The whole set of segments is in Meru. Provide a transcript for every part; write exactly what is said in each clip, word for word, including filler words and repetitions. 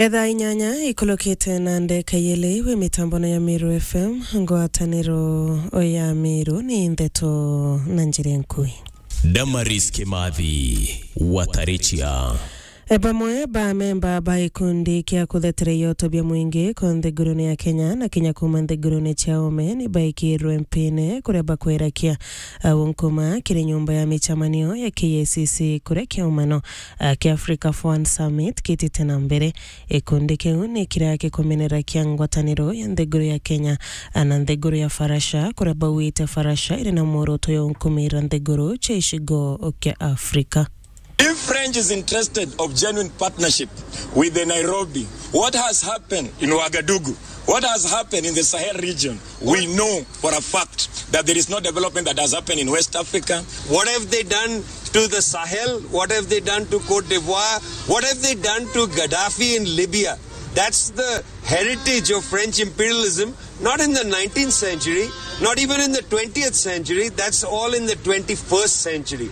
Etha inyanya ikulukite na ndeka yeli wi mitambono ya Meru F M, ngwataniro ya Meru ni ndeto na njira nkui. Damaris Kimathi, Watarichia. E, bamwe ba memba ba gikundi kia kuthetera ioto bia mwingi ko nthigurune ya Kenya na kinya kuma nthigurune cia ome ni baikirwe mpine kuria bakwerakia, a, unkuma kiri nyumba ya michamanio ya K I C C kuria kiumano, a, kia Africa Forward Summit kitite na mbere. Gikundi kiu ni kiria gikumenera kia ngwataniro ya nthiguru ya Kenya, a, na nthiguru ya Farasha, kuria bauite Farasha iri na mworoto ya unkumira nthiguru cia icigo kia Africa. If French is interested of genuine partnership with the Nairobi, what has happened in Ouagadougou? What has happened in the Sahel region? We know for a fact that there is no development that has happened in West Africa. What have they done to the Sahel? What have they done to Cote d'Ivoire? What have they done to Gaddafi in Libya? That's the heritage of French imperialism, not in the nineteenth century, not even in the twentieth century. That's all in the twenty-first century.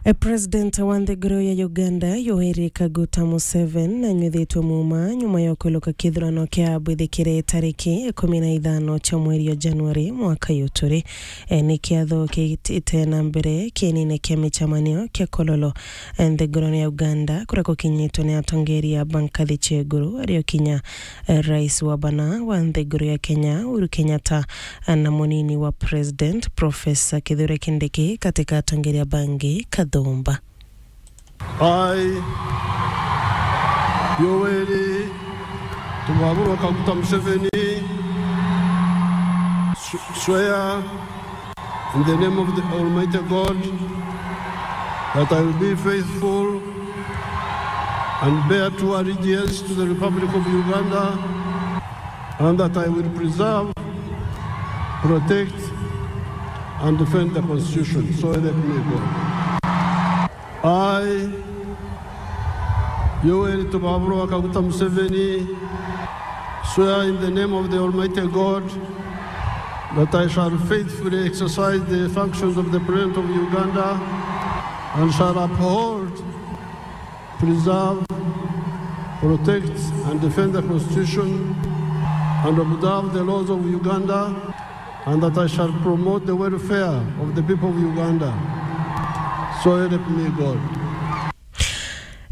E, President wa nthiguru ya Uganda, Yoweri Kaguta Museveni, nanyuthitwe muuma nyuma ya kwiluka kithurano kia bwithikire tariki ikumi na ithano cia mweri wa Januari mwaka uyu turi. E, ni kiatho kitite na mbere kienine kia michamanio kia Kololo, e, nthigurune ya Uganda, kuria gukinyitwe ni atongeria ba nkathi cia iguru, ario kinya, e, rais wa bana wa nthiguru ya Kenya, Uhuru Kenyatta, na munini wa President, Professor Kithure Kindiki, katika atongeria bangi kathumba. I, Yoweri Tubaburo Kaguta Museveni, s-, swear in the name of the Almighty God that I will be faithful and bear true allegiance to the Republic of Uganda, and that I will preserve, protect, and defend the Constitution. So help me God. I, Yoweri Tubaburo Kaguta Museveni, swear in the name of the Almighty God that I shall faithfully exercise the functions of the President of Uganda and shall uphold, preserve, protect, and defend the Constitution and observe the laws of Uganda, and that I shall promote the welfare of the people of Uganda. So help me God.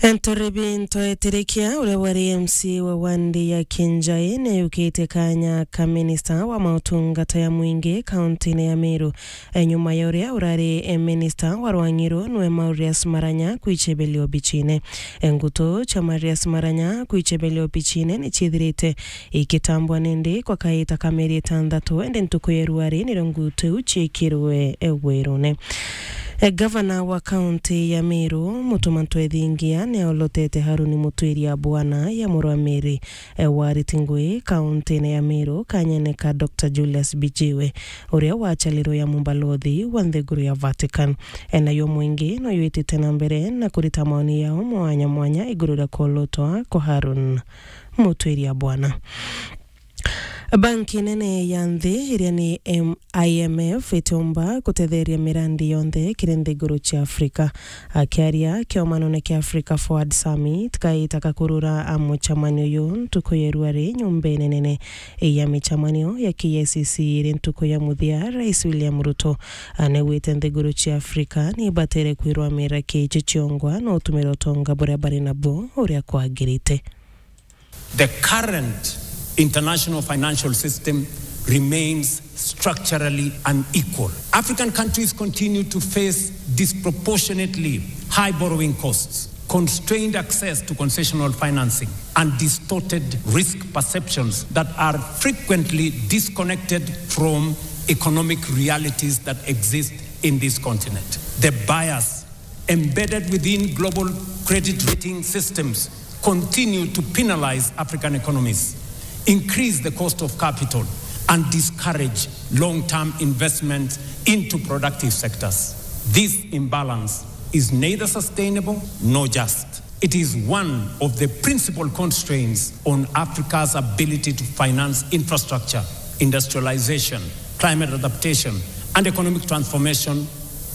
Enturibi Ntoetirikia, uria wari M C wa wandi ya Kinjai, ni ayukite kanya ka minista wa mautungata ya mwingi kauntine ya Meru, e, nyuma ya uria urari, e, minista wa rwang'i ruu nwe Marius Maranya kwichebelio obichine. E, ngutu cia Marius Maranya kwichebelio obichine ni ciithirite ikitambwa nindi kwa kaita ka mieri itantatu, indi ntuku ya ruari nirio ngutu iu ciikirwe, e, wirune. E, gavana wa kaunti ya Meru, Mutuma Ntwethingia, ni aolotete Haruni Mutwiria Bwana ya murwa Mary, e, wa Ritingui, kauntine ya Meru, kanyene ka Doctor Julius Bijiwe, uria wacalirwe ya mumbalothi wa nthiguru ya Vatican. E, nayo mwingi no yitite na mbere na kurita maoni yao mwanya mwanya iguru ria kuolotwa kwa Harun Mutwiria Bwana. Banki nene ya nthi, iria ni M-, I M F, itiumba gutetheria mirandi yonthe kiri nthiguru cia Afrika. Akiaria kiomanone kia Africa Forward Summit, kaita ka kurura a muchamanio uyu ntuku ya ruari nyumbene nene ya michamanio ya K I C C iri ntuku ya muthia, Rais William Ruto, a, nigwite nthiguru cia Afrika ni ibatere kwirwamira kiichi ciongwa na utumira utonga buria bari nabu uria kwagirite. The current international financial system remains structurally unequal. African countries continue to face disproportionately high borrowing costs, constrained access to concessional financing, and distorted risk perceptions that are frequently disconnected from economic realities that exist in this continent. The bias embedded within global credit rating systems continue to penalize African economies, increase the cost of capital, and discourage long-term investment into productive sectors. This imbalance is neither sustainable nor just. It is one of the principal constraints on Africa's ability to finance infrastructure, industrialization, climate adaptation, and economic transformation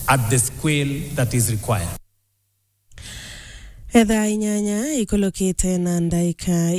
at the scale that is required. Ethaa inyanya ikulukite na ndaika